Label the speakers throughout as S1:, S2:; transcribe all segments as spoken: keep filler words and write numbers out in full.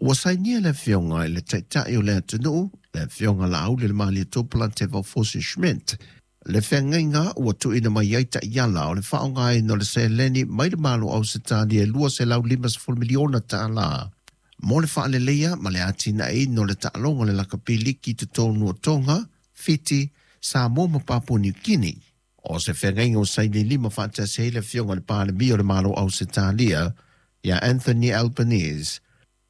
S1: Ua sainia le afioga i le Taitai o le atunuu, le afioga Laaulialemalietoa Polataivao Fosi Schmidt, le feagaiga ua tuuina mai ai taiala o le faaaogaina o le seleni mai le Malo o Ausetalia e lua selau limasefulu miliona tala mo le faaleleia ma le atinaeina o le taaloga o le lakapi liki i totonu o Toga, Fiti, Samoa ma Papua Niu Kini. O se feagaiga ua saini lima faatasi ai le afioga i le Palemia o le Malo o Ausetalia ia Anthony Albanese,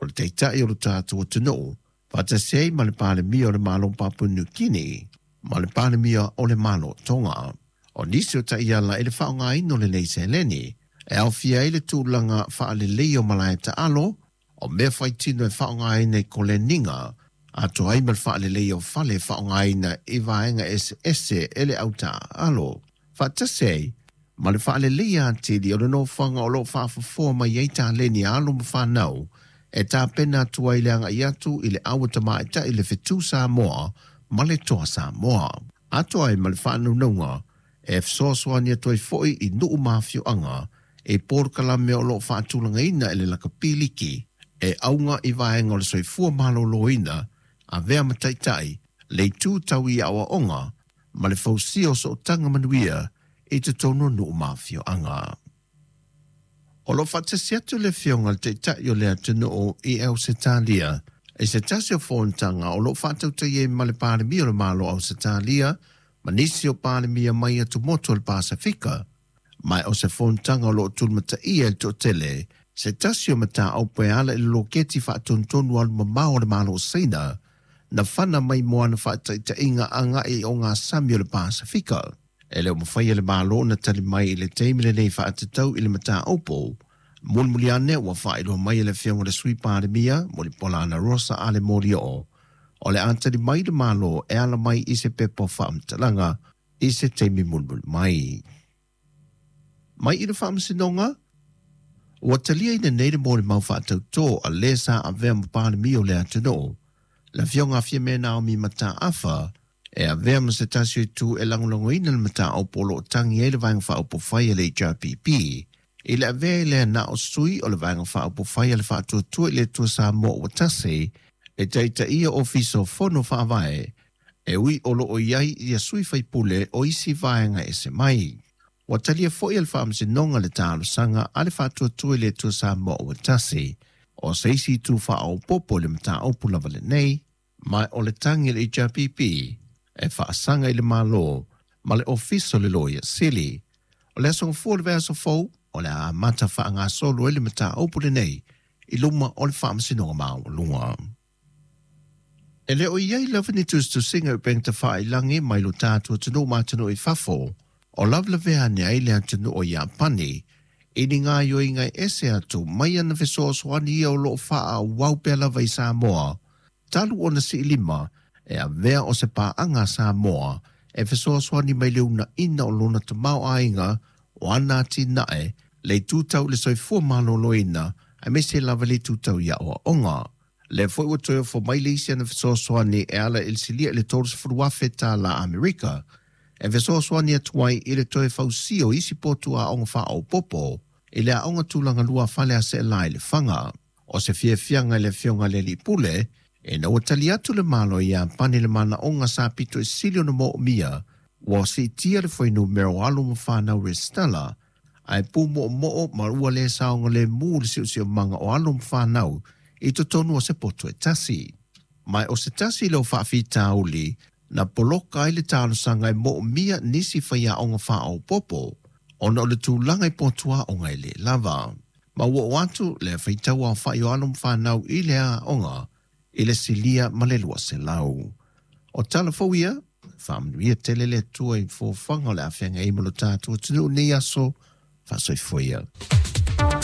S1: o le Taitai o le tatou atunuu, faatasi ai ma le Palemia o le Malo o Papua Niu Kini ma le Palemia o le Malo o Toga. O nisi o taiala i le faaaogaina o lenei seleni e aofia ai le tulaga faaleleia o malae taalo, o mea faitino e faaaogaina i koleniga, atoa ai ma le faaleleia o fale e faaaogaina i vaega eseese e le autaaalo, faatasi ai ma le faaleleia atili o le nofoaga o loo faafofoa mai ai taleni a alo ma fanau e tapena atu ai le agai atu i le aua tamaitai le Fetu Samoa ma le Toa Samoa, atoa ai ma le faanaunauga e fesoasoani atu ai foi i nuu ma afioaga i polokalame o loo faatulagaina e le lakapi liki e auga i vaega o le soifua malōlōina, avea ma taitai le itu tau i aoaoga ma le fausia o sootaga manuia i totonu o nuu ma afioaga. O lo o faatasi atu le afioga i le Taitai o le atunuu i Ausetalia i se tasi o fonotaga o lo o faatautaia ai ma le Palemia o le Malo o Ausetalia ma nisi o Palemia mai atumotu o le Pasefika, ma o se fonotaga o lo o tulimataia e le toatele se tasi o mataupu e ala i le loketi faatonutonu alumamao o le Malo o Saina na fana mai mo ana faataitaiga agai i ogasami o le Pasefika. E le o mafai e le Malo ona tali mai i le taimi lenei faatatau i le mataupu. Mulimuli ane ua faailoa mai e le afioga i le Sui Palemia Mulipola Anarosa Ale Molioo o le a tali mai le Malo e ala mai i se pepa o faamatalaga i se taimi mulimuli mai. Mai i le Faamasinoga, ua taliaina nei le molimau faatautō a lē sa avea ma Palemia o le atunuu, le afioga a Fiame Naomi Mataafa, e avea ma se tasi o itu e lagolagoina le mataupu o loo tagi ai le Vaega Faaupufai a le H R P P i le avea i lea na o sui o le Vaega Faaupufai a le Faatuatua i le Atua Samoa ua Tasi e taitaia Ofisa o Fono Faavae e ui o loo i ai ia sui faipule o isi vaega ese mai. Ua talia foi e le Faamasinoga le talosaga a le Faatuatua i le Atua Samoa ua Tasi o se isi itu faaopoopo i le mataupu lava lenei, ma o le tagi a le H R P P e faasaga i le Malo ma le Ofisa o le Loia Sili. O le aso gafua o le vaiaso fou o le a amata faagasolo ai le mataupu lenei i luma o le Faamasinoga Maualuga. E le o i ai lava ni tusitusiga i upega tafailagi mai lo tatou atunuu ma atunuu i fafo o lavelavea ane ai le atunuu o Iapani i ni gaoioiga e ese atu mai ana fesoasoani ia o loo faaauau pea lava i Samoa talu ona siilima e avea o se paaga a Samoa e fesoasoani mai le uunaina o lona tamaoaiga o ana atinae le itu tau i le soifua malōlōina aemaise lava le itu tau i aoaoga. Le foi ua toe ofo mai le isi ana fesoasoani e ala i le silia i le tolusefulu afe tala Amerika e fesoasoani atu ai i le toe fausia o isi potu aoga faaopoopo i le aoga tulaga lua fale a Seelā i Lefaga. O se fiafiaga i le afioga i le alii pule ina ua tali atu le Malo o Iapani i le manaoga sa pito i sili ona moomia ua siitia le fuainumera o alo ma fanau resitala ae pumoomoo ma ua le saogalemu le siosiomaga o alo ma fanau i totonu o se poto e tasi. Ma o se tasi leo faafitauli na poloka ai le talosaga e moomia nisi faiaoga faaopoopo ona o le tulaga i potu aoga e lē lava. Ma ua oo atu le faitau aofai o alo ma fanau i le aoga i le silia ma le lua selau. O tala fou ia, faamanuia tele le Atua i fofoga o le afeaga ai ma lo tatou atunuu i lenei aso, faasoifua ia.